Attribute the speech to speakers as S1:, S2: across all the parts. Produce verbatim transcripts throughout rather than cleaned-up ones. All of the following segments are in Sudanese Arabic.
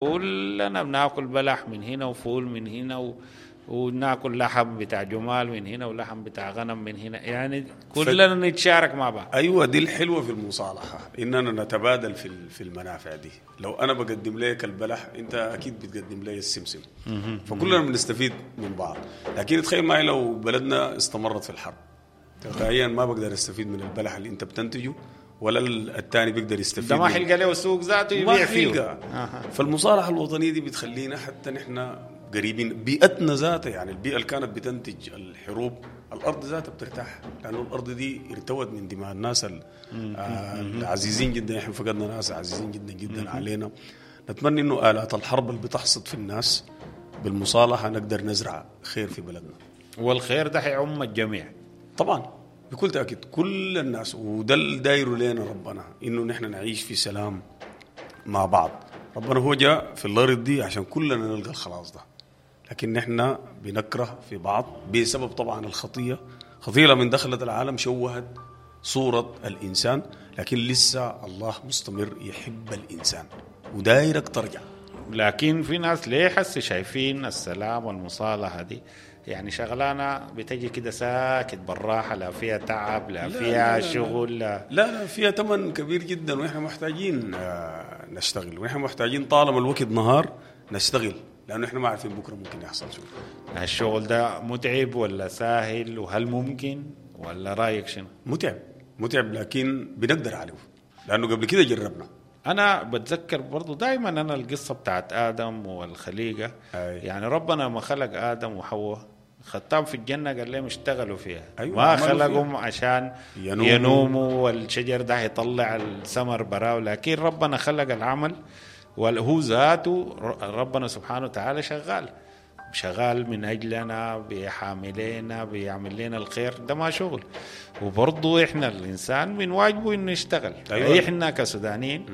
S1: كلنا بناكل بلح من هنا وفول من هنا و... وناكل لحم بتاع جمال من هنا ولحم بتاع غنم من هنا، يعني كلنا نتشارك مع بعض.
S2: ايوه، دي الحلوة في المصالحة، اننا نتبادل في في المنافع دي. لو انا بقدم لك البلح، انت اكيد بتقدم لي السمسم، فكلنا بنستفيد من بعض. لكن تخيل معي لو بلدنا استمرت في الحرب، تلقائيا ما بقدر استفيد من البلح اللي انت بتنتجه، ولا الثاني بيقدر يستفيد.
S1: ده ما حيلقى له سوق ذاته يبيع فيه.
S2: أه. فالمصالحه الوطنية دي بتخلينا حتى نحن قريبين بيئتنا ذاتها، يعني البيئة اللي كانت بتنتج الحروب، الارض ذاتها بترتاح، لانه الارض دي ارتوت من دماء الناس العزيزين جدا. احنا فقدنا ناس عزيزين جدا جدا علينا. نتمنى انه الات الحرب اللي بتحصد في الناس بالمصالحه نقدر نزرع خير في بلدنا،
S1: والخير ده حيعم الجميع
S2: طبعا بكل تأكيد، كل الناس. وده اللي دايرة لنا ربنا، إنه نحن نعيش في سلام مع بعض. ربنا هو جاء في الأرض دي عشان كلنا نلقى الخلاص ده، لكن نحن بنكره في بعض بسبب طبعا الخطية. خطية لما دخلت العالم شوهت صورة الإنسان، لكن لسه الله مستمر يحب الإنسان ودايرك ترجع.
S1: لكن في ناس ليه حس شايفين السلام والمصالحة دي يعني شغلانة بتجي كده ساكت بالراحة، لا فيها تعب لا, لا فيها لا لا شغل،
S2: لا لا, لا فيها ثمن كبير جدا. ونحن محتاجين نشتغل، ونحن محتاجين طالما الوقت نهار نشتغل، لأنه احنا ما عارفين بكرة ممكن يحصل شو.
S1: الشغل ده متعب ولا ساهل؟ وهل ممكن ولا رأيك شنو؟
S2: متعب متعب، لكن بنقدر عليه لأنه قبل كده جربنا.
S1: أنا بتذكر برضو دايما أنا القصة بتاعت آدم والخليقة. أي. يعني ربنا ما خلق آدم وحواء خطاب في الجنة قال لهم اشتغلوا فيها. أيوة، ما خلقهم عشان ينوموا, ينوموا والشجر ده يطلع الثمر براو، لكن ربنا خلق العمل، وهو ذاته ربنا سبحانه وتعالى شغال شغال من أجلنا، بيحاملنا، بيعمل لنا الخير. ده ما شغل. وبرضو إحنا الإنسان من واجبه إنه يشتغل. أيوة. إحنا كسودانيين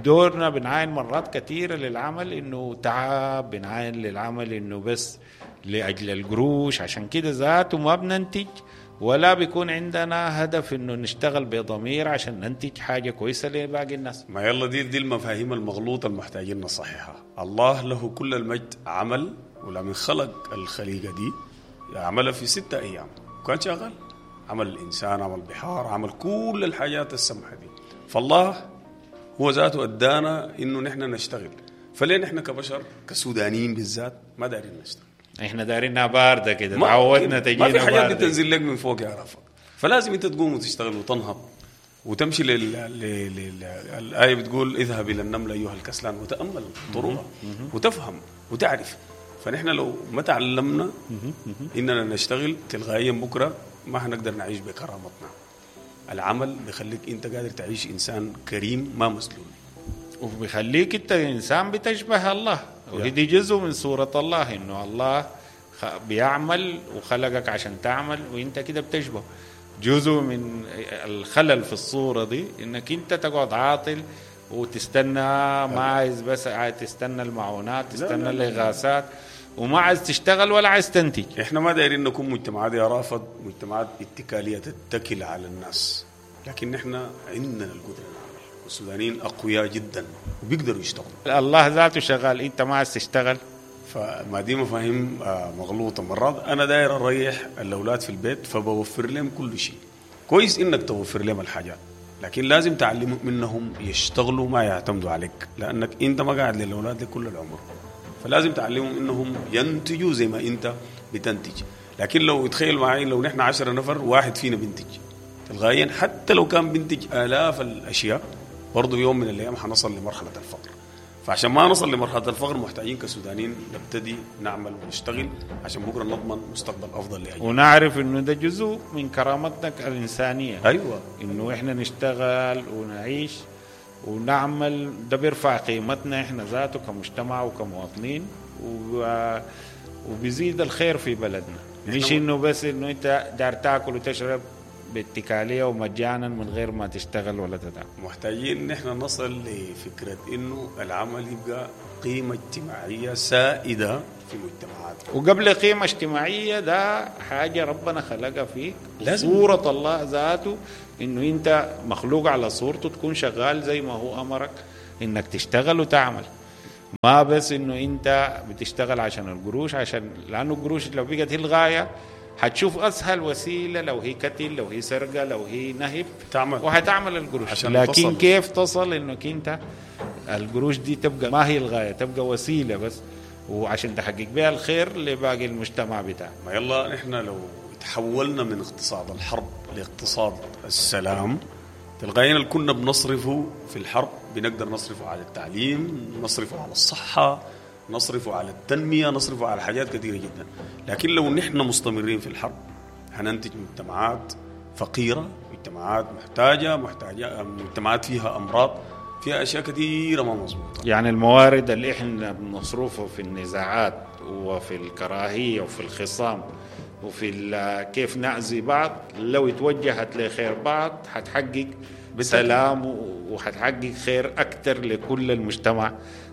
S1: دورنا بنعاين مرات كثيرة للعمل إنه تعب، بنعاين للعمل إنه بس لأجل القروش، عشان كده ذاته ما بننتج ولا بيكون عندنا هدف إنه نشتغل بضمير عشان ننتج حاجة كويسة لباقي الناس.
S2: ما يلا دي دي المفاهيم المغلوطة المحتاجين نصححها. الله له كل المجد عمل، ولما خلق الخليقة دي عملها في ستة أيام وكان شغال، عمل الإنسان، عمل البحار، عمل كل الحاجات السمحة دي. فالله هو ذاته أدانا إنه نحن نشتغل، فليه نحن كبشر كسودانيين بالذات ما دارين نشتغل؟
S1: احنا دارينها باردة كده، تعودنا تجينا
S2: ما في حاجات بتنزل لك من فوق يا رافق، فلازم انت تقوم وتشتغل وتنهض وتمشي لل... لل... لل... الآية بتقول اذهب إلى النملة أيها الكسلان وتأمل طرقها وتفهم وتعرف. فنحن لو ما تعلمنا إننا نشتغل تلغائيا بكرة ما حنقدر نعيش بكرامتنا. العمل بيخليك أنت قادر تعيش إنسان كريم ما مسلول،
S1: وبيخليك أنت إنسان بتشبه الله، وهي دي جزء من صورة الله، إنه الله بيعمل وخلقك عشان تعمل وإنت كده بتشبه. جزء من الخلل في الصورة دي إنك أنت تقعد عاطل وتستنى، ما عايز بس عايز تستنى المعونات، تستنى الإغاثات، وما عايز تشتغل ولا عايز تنتج.
S2: احنا ما دايرين نكون مجتمعات يا رافض، مجتمعات اتكالية تتكل على الناس، لكن احنا عندنا القدرة نعمل، والسودانيين أقوياء جدا وبيقدروا يشتغلوا.
S1: الله ذاته شغال، انت ما عايز تشتغل.
S2: فما دي مفاهيم مغلوطة. مرات أنا داير أريح الأولاد في البيت فبوفر لهم كل شيء. كويس إنك توفر لهم الحاجات، لكن لازم تعلمهم منهم يشتغلوا ما يعتمدوا عليك، لأنك أنت ما قاعد للأولاد لكل العمر، فلازم تعلمهم إنهم ينتجوا زي ما أنت بتنتج. لكن لو تخيل معي لو نحن عشرة نفر واحد فينا بنتج تلغائيا، حتى لو كان بنتج آلاف الأشياء برضو يوم من الأيام حنصل لمرحلة الفقر. فعشان ما نصل لمرحلة الفقر محتاجين كسودانيين نبتدي نعمل ونشتغل عشان بكرة نضمن مستقبل أفضل لأجل،
S1: ونعرف إنه ده جزء من كرامتنا الإنسانية.
S2: أيوة،
S1: إنه إحنا نشتغل ونعيش ونعمل، ده بيرفع قيمتنا إحنا ذاته كمجتمع وكمواطنين، و... وبيزيد الخير في بلدنا. مش إنه بس إنه أنت دار تاكل وتشرب باتكالية ومجانا من غير ما تشتغل ولا تتعب.
S2: محتاجين نحن نصل لفكرة إنه العمل يبقى قيمة اجتماعية سائدة في مجتمعاتنا.
S1: وقبل قيمة اجتماعية ده حاجة ربنا خلقها فيك، صورة الله ذاته، إنه أنت مخلوق على صورته، تكون شغال زي ما هو أمرك إنك تشتغل وتعمل. ما بس انه انت بتشتغل عشان القروش، عشان لانه القروش لو بقت هي الغاية حتشوف اسهل وسيلة، لو هي قتل، لو هي سرقه، لو هي نهب،
S2: تعمل
S1: وحتعمل القروش.
S2: عشان
S1: لكن
S2: تصل.
S1: كيف تصل انك انت القروش دي تبقى ما هي الغاية، تبقى وسيلة بس، وعشان تحقق بها الخير لباقي المجتمع بتاعك.
S2: ما يلا نحن لو تحولنا من اقتصاد الحرب لاقتصاد السلام، تلقائيا اللي كنا بنصرفه في الحرب بنقدر نصرفه على التعليم، نصرفه على الصحة، نصرفه على التنمية، نصرفه على حاجات كثيرة جدا. لكن لو نحن مستمرين في الحرب هننتج مجتمعات فقيرة، مجتمعات محتاجة، محتاجة مجتمعات فيها أمراض، فيها أشياء كثيرة ما مظبوطة.
S1: يعني الموارد اللي إحنا بنصرفه في النزاعات وفي الكراهية وفي الخصام وفي كيف نأذي بعض، لو اتوجهت لخير بعض حتحقق سلام وحتحقق خير أكثر لكل المجتمع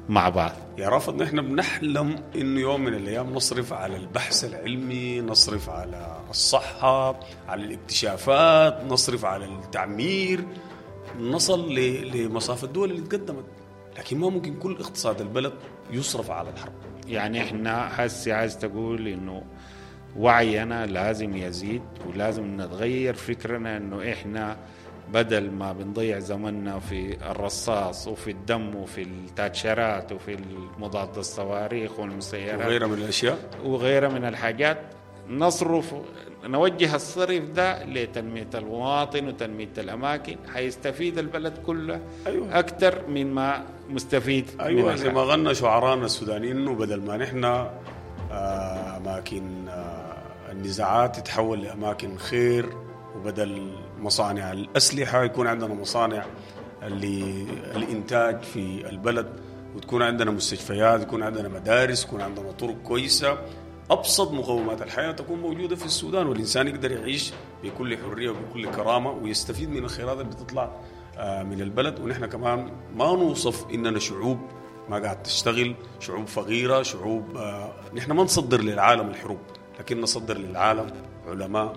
S1: مع بعض.
S2: يا رافض، نحن بنحلم إنه يوم من الأيام نصرف على البحث العلمي، نصرف على الصحة، على الاكتشافات، نصرف على التعمير، نصل لمصاف الدول اللي تقدمت. لكن ما ممكن كل اقتصاد البلد يصرف على الحرب.
S1: يعني احنا حسي عايز تقول إنه وعينا لازم يزيد، ولازم نتغير فكرنا إنه إحنا بدل ما بنضيع زمننا في الرصاص وفي الدم وفي التاتشرات وفي المضاد الصواريخ والمسيرات
S2: وغيرها من الأشياء
S1: وغيرها من الحاجات، نصرف نوجه الصرف ده لتنمية المواطن وتنمية الأماكن، حيستفيد البلد كله.
S2: أيوة.
S1: أكثر مما مستفيد.
S2: أيوة، زي ما غنى شعرانا السودانيين إنه بدل ما نحن أماكن النزاعات تتحول لأماكن خير، وبدل مصانع الأسلحة يكون عندنا مصانع للإنتاج في البلد، وتكون عندنا مستشفيات، يكون عندنا مدارس، يكون عندنا طرق كويسة. أبسط مقومات الحياة تكون موجودة في السودان، والإنسان يقدر يعيش بكل حرية وبكل كرامة ويستفيد من الخيرات اللي بتطلع من البلد. ونحن كمان ما نوصف إننا شعوب ما قاعد تشتغل، شعوب فقيرة، شعوب نحن ما نصدر للعالم الحروب، لكن نصدر للعالم علماء،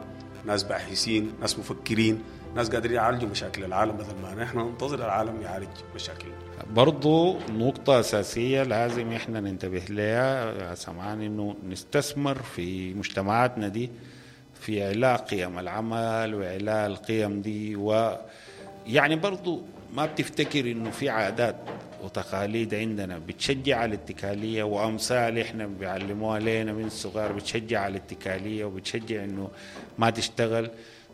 S2: ناس باحثين، ناس مفكرين، ناس قادرين يعالجوا مشاكل العالم، بدل ما نحن ننتظر العالم يعالج مشاكلنا.
S1: برضو نقطة أساسية لازم إحنا ننتبه لها يا سمعان، إنه نستثمر في مجتمعاتنا دي في إعلاء قيم العمل وإعلاء القيم دي. ويعني برضو ما بتفتكر إنه في عادات وتقاليد عندنا بتشجع على الاتكالية، وأمثال إحنا بيعلموها لنا من الصغار بتشجع على الاتكالية وبتشجع إنه ما تشتغل.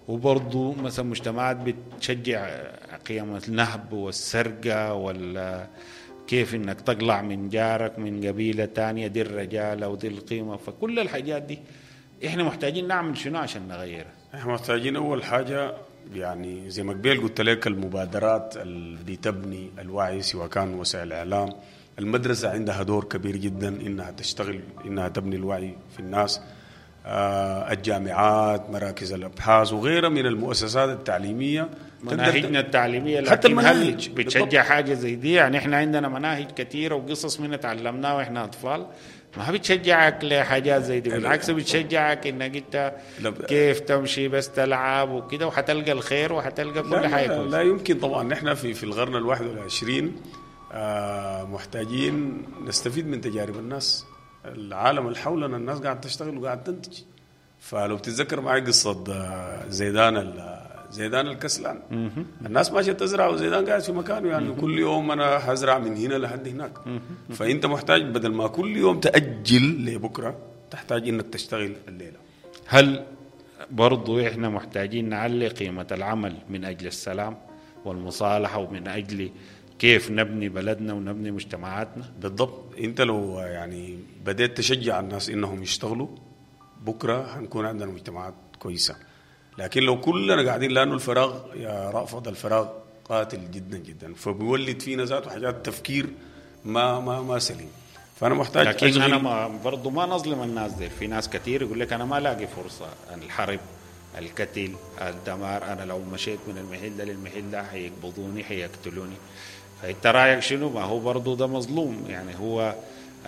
S1: وبرضو مثلا مجتمعات بتشجع قيم النهب والسرقة وال كيف إنك تقلع من جارك من قبيلة تانية، دي الرجالة ودي القيمة. فكل الحاجات دي إحنا محتاجين نعمل شنو عشان نغيرها؟
S2: إحنا محتاجين أول حاجة، يعني زي ما قبل قلت لك، المبادرات اللي بتبني الوعي، سواء كان وسائل الإعلام، المدرسة عندها دور كبير جدا إنها تشتغل، إنها تبني الوعي في الناس، آه الجامعات، مراكز الأبحاث وغيرها من المؤسسات التعليمية،
S1: مناهجنا التعليمية.
S2: حتى المناهج
S1: بتشجع حاجة زي دي. يعني إحنا عندنا مناهج كثيرة وقصص من تعلمناها وإحنا أطفال ما بتشجعك لحاجات زي دي، بالعكس بتشجعك انك انت كيف تمشي بس تلعب وكده، وحتلقى الخير وحتلقى كل حاجة
S2: كويسة. لا يمكن طبعا. نحن في في القرن الواحد والعشرين آه محتاجين نستفيد من تجارب الناس، العالم اللي حولنا الناس قاعد تشتغل وقاعد تنتج. فلو بتتذكر معي قصة زيدان زيدان الكسلان، الناس ماشية تزرع وزيدان قاعد في مكانه، يعني كل يوم أنا هزرع من هنا لحد هناك. فأنت محتاج بدل ما كل يوم تأجل لبكرة، تحتاج إنك تشتغل الليلة.
S1: هل برضو إحنا محتاجين نعلي قيمة العمل من أجل السلام والمصالحة ومن أجل كيف نبني بلدنا ونبني مجتمعاتنا؟
S2: بالضبط. أنت لو يعني بدأت تشجع الناس إنهم يشتغلوا، بكرة هنكون عندنا مجتمعات كويسة. لكن لو كلنا قاعدين، لأنه الفراغ يا رأفت، الفراغ قاتل جدا جدا، فبيولد فينا ذاته حاجات تفكير ما ما ما سليم. فأنا محتاج.
S1: لكن أنا ما برضو ما نظلم الناس دي. في ناس كتير يقول لك أنا ما لاقي فرصة، الحرب، القتل، الدمار، أنا لو مشيت من المحل ده للمحل ده حيقبضوني، حيقتلوني. فأنت رأيك شنو؟ ما هو برضو ده مظلوم، يعني هو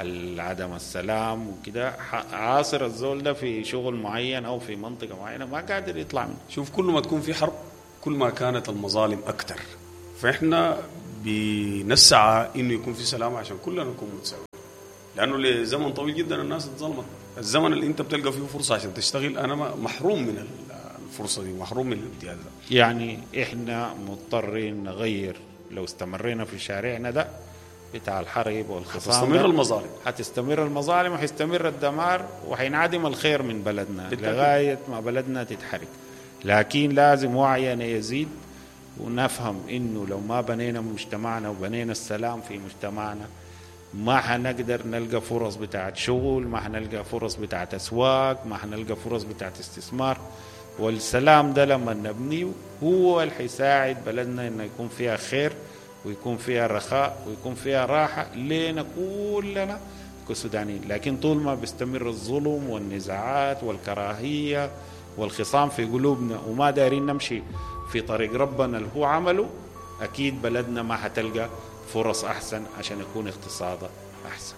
S1: العدم السلام وكده عاصر الزول ده في شغل معين أو في منطقة معينة ما قادر يطلع منه.
S2: شوف، كل ما تكون في حرب كل ما كانت المظالم أكتر. فإحنا بنسعى انه يكون في سلام عشان كلنا نكون متساويين، لانه لزمن طويل جدا الناس اتظلمت. الزمن اللي انت بتلقى فيه فرصة عشان تشتغل، انا محروم من الفرصة دي، محروم من الامتياز ده.
S1: يعني احنا مضطرين نغير، لو استمرينا في شارعنا ده بتاع الحرب والخصام
S2: هتستمر المظالم،
S1: هتستمر المظالم وحيستمر الدمار وحينعدم الخير من بلدنا لغاية ما بلدنا تتحرك. لكن لازم وعينا يزيد ونفهم انه لو ما بنينا مجتمعنا وبنينا السلام في مجتمعنا ما حنقدر نلقى فرص بتاعت شغل، ما حنلقى فرص بتاعت اسواق، ما حنلقى فرص بتاعت استثمار. والسلام ده لما نبنيه هو اللي حيساعد بلدنا انه يكون فيها خير ويكون فيها رخاء ويكون فيها راحة لينا كلنا كسودانيين. لكن طول ما بيستمر الظلم والنزاعات والكراهية والخصام في قلوبنا وما دارين نمشي في طريق ربنا اللي هو عمله، أكيد بلدنا ما حتلقى فرص أحسن عشان يكون اقتصادها أحسن.